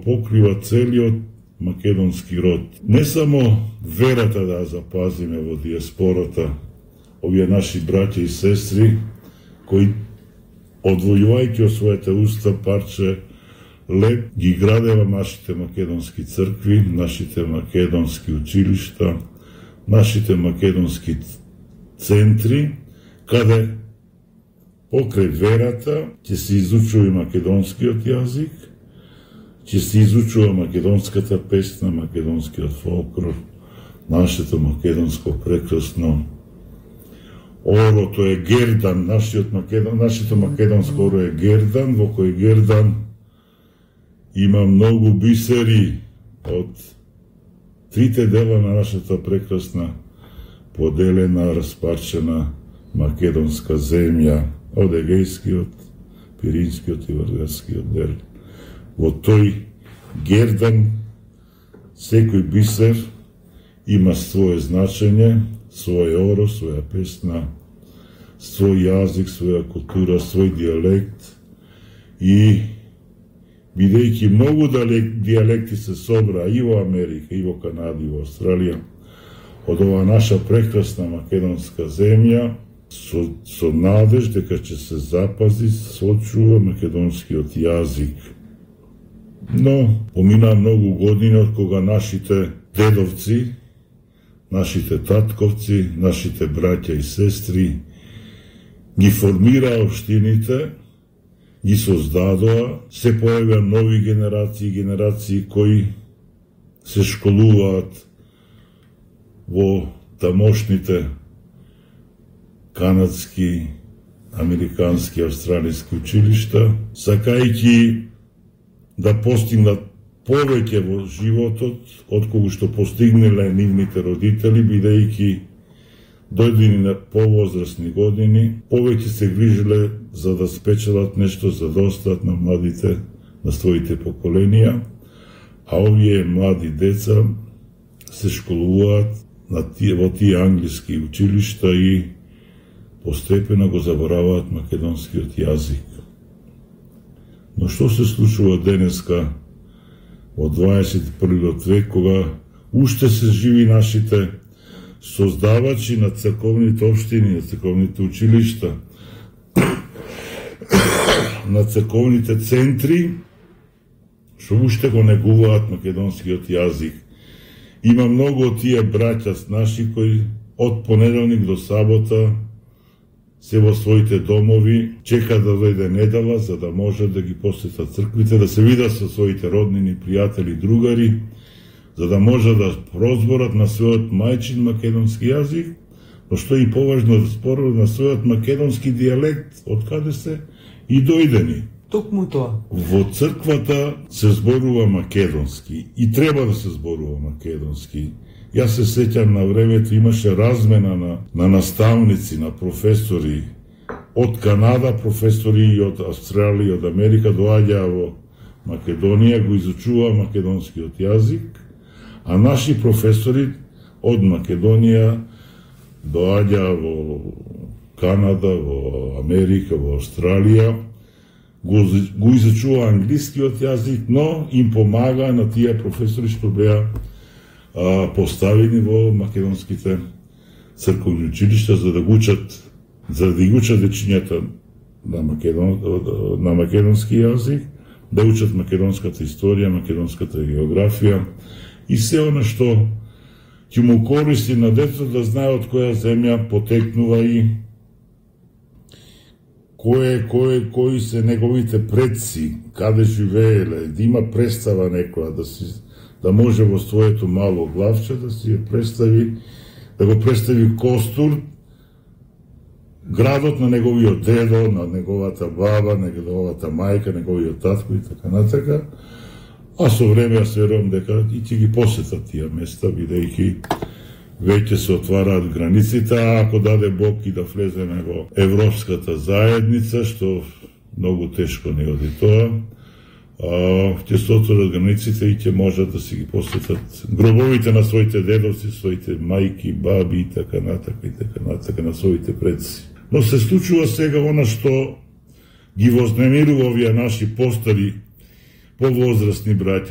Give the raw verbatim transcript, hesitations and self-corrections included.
покрива целиот македонски род. Не само верата да ја запазиме во диаспората, овие наши браќа и сестри, кои одвојувајќи од својата уста парче леп, ги градева нашите македонски цркви, нашите македонски училишта, нашите македонски центри, каде покрај верата ќе се изучува и македонскиот јазик, ќе се изучува македонската песна, македонскиот фолклор, нашето македонско прекрасно оро, тоа е гердан, нашиот македон, нашето македонско оро е гердан, во кој гердан има многу бисери од трите дела на нашата прекрасна, поделена, распарчена македонска земја, од Егејскиот, Пиринскиот и Вардарскиот дел. Во тој гердан секој бисер има свое значење, своје оро, своја песна, свој јазик, своја култура, свој дијалект и бидејќи многу дијалекти се собра и во Америка, и во Канада, и во Австралија, од ова наша прекрасна македонска земја, со, со надеж дека ќе се запази, сочува македонскиот јазик. Но, помина многу години од кога нашите дедовци, нашите татковци, нашите браќа и сестри ги формираа општините, ги создадоа, се појавија нови генерации, генерации кои се школуваат во тамошните канадски, американски, австралиски училишта, сакајќи да постигнат повеќе во животот од кога што постигнале нивните родители, бидејќи дојдени на повозрастни години, повеќе се грижеле за да спечелат нешто, за да остат на младите, на своите поколенија, а овие млади деца се школуваат на тие, во тие англиски училишта и постепено го забораваат македонскиот јазик. Но што се случува денеска во дваесет и првиот век, кога уште се живи нашите создавачи на црковните општини, на црковните училишта, на црковните центри, што уште го негуваат македонскиот јазик. Има многу од тие браќа наши кои од понеделник до сабота се во своите домови, чека да дојде недела за да може да ги посетат црквите, да се видат со своите роднини, пријатели, другари, за да може да прозборат на својот мајчин македонски јазик, но што е и поважно да зборуват на својот македонски дијалект, од каде се и дојдени. Токму тоа. Во црквата се зборува македонски и треба да се зборува македонски. Јас се сеќам на времето имаше размена на, на наставници, на професори од Канада, професори и од Австралија, од Америка доаѓаа во Македонија, го изучуваа македонскиот јазик, а наши професори од Македонија доаѓаа во Канада, во Америка, во Австралија, го, го изучуваа англискиот јазик, но им помагаа на тие професори што беа а, поставени во македонските црковни училишта за да го учат, за да ги учат дечињата на, македон, на македонски јазик, да учат македонската историја, македонската географија и се она што ќе му користи на детето да знае од која земја потекнува и кој кој кои се неговите предци, каде живееле, да има представа некоја, да си да може во своето мало главче да си ја представи, да го представи Костур, градот на неговиот дедо, на неговата баба, на неговата мајка, неговиот татко и така натака. А со време јас верувам дека и ќе ги посетат тие места, бидејќи веќе се отвараат границите, а ако даде Бог и да влеземе во Европската заедница, што многу тешко не оди тоа, ќе се отворат границите и ќе можат да си ги посетат гробовите на своите дедовци, своите мајки, баби и така натака и така натака на своите предци. Но се случува сега она што ги вознемирува овие наши постари, повозрастни браќа